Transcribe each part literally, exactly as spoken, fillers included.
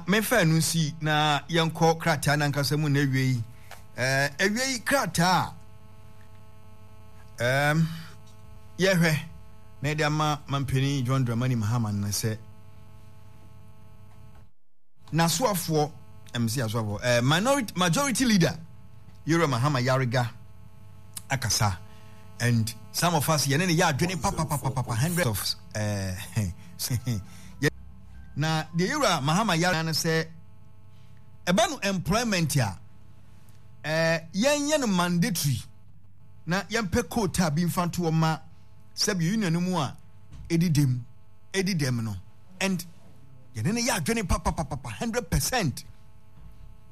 memfa ɛno nsi na yɛnkɔ krataa no ankasa mu na awie yi. Eh, awie yi krataa a um, yɛhwɛ na yɛde ama mampanin John Dramani Mahama no sɛ n'asoafoɔ ɛmsi asoafoɔ eh, minority majority leader Yewura Mahama Yariga akasa and some of us yɛne ne yɛ adwene papapapapa hundred of eh, na deɛ Yewura Mahama Yariga no sɛ ɛba no employment a eh, yɛnyɛ no mandatory na yɛmpɛ quota bi mfa ntoɔ ma sɛbi union no mu a ɛdi dɛm ɛdi dɛm no and yɛne no yɛ adwene papapapapa hundred percent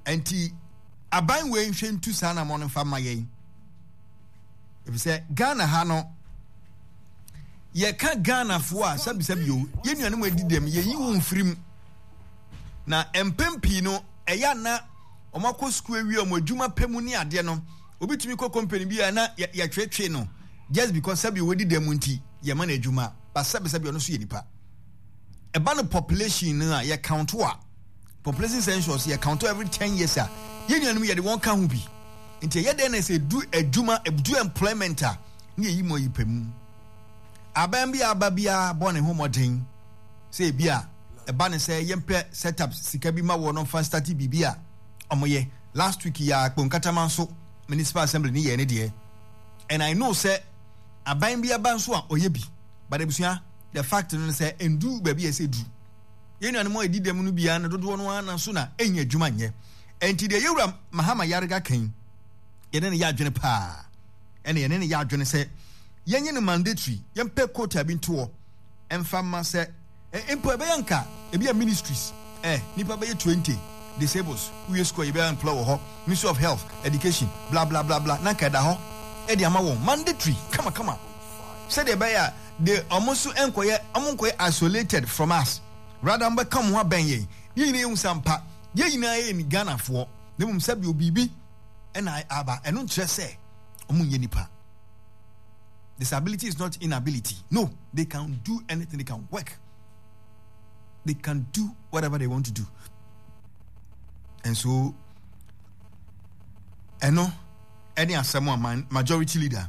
nti aban wei nhwɛ ntu saa na mo no mfa ma yɛn efisɛ Ghana ha no yɛka Ghanafoɔ a sɛbisɛbi o yɛn nuanom adi dɛm yɛyi wɔn mfiri mu na mpɛn pii no ɛyɛ ana wɔn akɔ sukuu awie wɔn adwuma pɛ mu ne adeɛ no obi tumi kɔ company bi a na yɛtwetwe no just because sɛbi wɔdi dɛm nti yɛma no adwuma ba sɛbisɛbi ɔno nso yɛ nipa ɛba no population no a yɛ count a population census yɛ count every ten years a yɛn nuanom yɛde wɔn ka ho bi nti ɛyɛ dɛn na sɛ edu adwuma edu employment a ne yɛyi mu ayi pɛ mu aban bi aba biara bɔ ne ho mmɔden sɛ ebi a ɛba ne sɛ yɛmpɛ set up sika bi ma wɔn no mfa start biribi a wɔyɛ last week yɛ a Kponkatama nso municipal assembly ne yɛ ne deɛ and I know sɛ aban bi aba nso a ɔyɛ bi but abusua the fact no sɛ ndu baabi a ɛsɛ du yɛn nuanom a ɛdi dɛm no biara no dodoɔ no ara na so na ɛnya adwuma nyɛ ɛnti deɛ yɛwura Mahama Yarega kan yɛne no yɛ adwene paa ɛna yɛne no yɛ adwene sɛ yɛnyɛ no mandatory yɛmpɛ quota bi ntoɔ ɛmfa ma sɛ mpo ɛbɛyɛ nka ebi a ministries eh nipa bɛyɛ twenty disables woyɛ school a yɛbɛyɛ employ wɔ hɔ ministry of health education bla bla bla bla na nka ɛda hɔ ɛde ama wɔn mandatory kamakama sɛdeɛ ɛbɛyɛ a de ɔmo nso nkɔyɛ ɔmo nkɔyɛ isolated from us rather ɔmo bɛka ɔmo ho abɛn yɛn yɛn nyinaa yɛhu sɛ ampa yɛn nyinaa yɛ ni Ghanafoɔ na mmom sɛbi obibi ɛna aba ɛno nkyerɛ sɛ ɔmo nyɛ nipa disability is not inability no they can do anything they can work they can do whatever they want to do and so ɛno ɛne asɛm a majority leader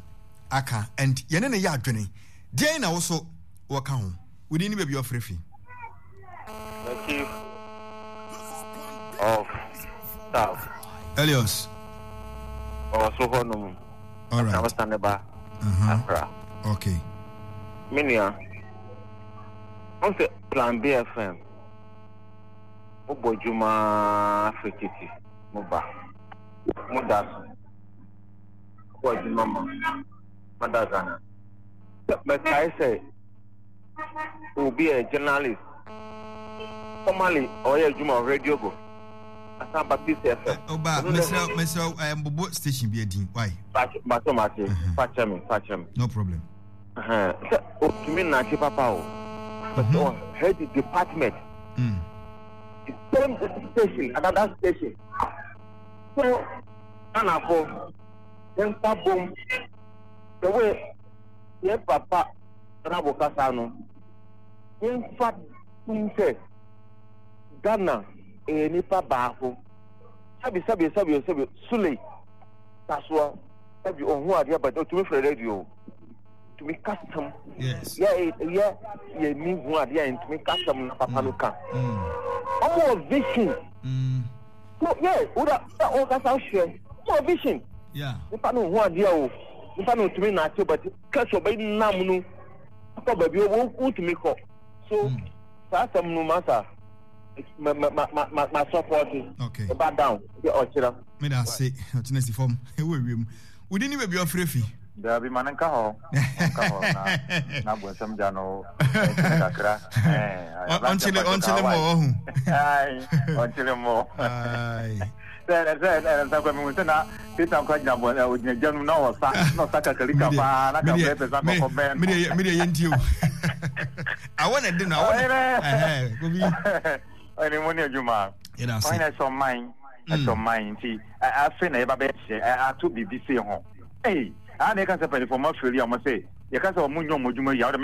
aka and yɛne ne yɛ adwene deɛn na wo so wɔka ho wodin ne baabi ɔfrɛ fi The chief of staff. Elios. Ɔwɔ so hɔ nom. All right. Na ɔsan ne ba. Uh-huh. Accra. Okay. Me nua. Ɔn sɛ Plan B FM. Mo bɔ dwuma firi titi mo ba. Mo da so. Mo bɔ dwuma ma. Mother Ghana. Mɛkae sɛ obi yɛ journalist formerly ɔyɛ adwuma wɔ radio go asan ba Peace FM. Ɔba mesrɛ mesrɛ eh, mbobɔ station bi adin why. Bato mate fakyɛ me fakyɛ me. No problem. Sɛ otumi nante papa o. But mm -hmm. head department. Mm. The same station another station. So Ghanafo yɛmfa bom the way yɛn papa Rabo kasa no yɛmfa tum sɛ Ghana ɛyɛ nipa baako sɛbi sɛbi sɛbi sɛbi Sule tasoa sɛbi ohun adeɛ but otumi frɛ radio tumi kasam yɛ yɛ yɛ ni hu adeɛ a ntumi kasam na papa no ka ɔmo wɔ vision so yɛ wura ɔkasa hwɛ ɔmo wɔ vision nipa no hu adeɛ o nipa no otumi na ate but kɛse ɔbɛ nam no kɔ baabi o wotumi kɔ so saa asɛm no masa ma ma ma ma ma support ɛba down de ɔkyerɛ. meda ase ɔkyena si fam ɛwɔ ewiem wodi ne baabi ɔfrɛ fi. Dabi ma no nka hɔ nka hɔ na na bonsam gya no ɛnkyene kakra. Ɔnkyele ɔnkyele mɔ ɔho. Ɔnkyele mɔ. Sɛ sɛ ɛnsa kɔ mi sɛ na Satan kɔ gyina bɔ ɔgyina gya no na ɔsa na ɔsa kakalika paa na ka bɛɛ pɛ sa kɔkɔ bɛn no. Mi de yɛ nti o. Awɔ na ɛdi no awɔ na ɛhɛn kobi. Ɛni mo ni adwuma. Yɛda ase. Ɔyɛ sɛ ɔman ɛsɛ ɔman nti afei na yɛba bɛhyɛ ato biribi sei ho. Ei, a na yɛka sɛ mpanyinfoɔ ɔmo afiri a ɔmo sɛ yɛka sɛ ɔmo nyɛ ɔmo adwuma yi a ɔde